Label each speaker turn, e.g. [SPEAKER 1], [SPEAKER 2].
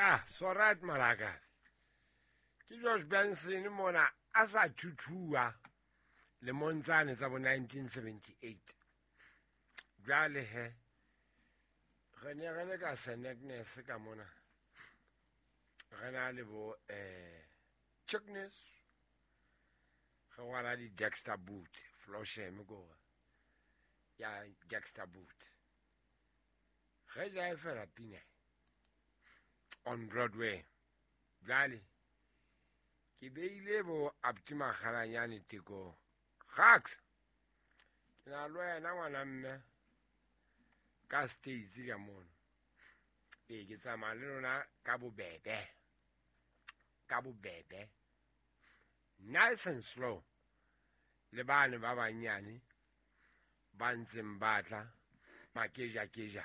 [SPEAKER 1] Ya, so right malaka. Ke George Benson mona a sa thuthua lemong tsane tsa bo 1978. Jwale he re ne re le ka St Agnes ka mona. Re na le bo Chickness. Re rwala di Dexter boot, Flosham ko. Ya Dexter boot. Re ja e fela pina on Broadway. Jwale ke beile bo Abdi Makgalanyane teko. Gax. Ke na le wena ngwana mme ka States ka mono. Ee, ke tsamaya le lona ka bobebe. Ka bobebe. Nice and slow. Le bane ba banyane ba ntseng ba tla makeja keja.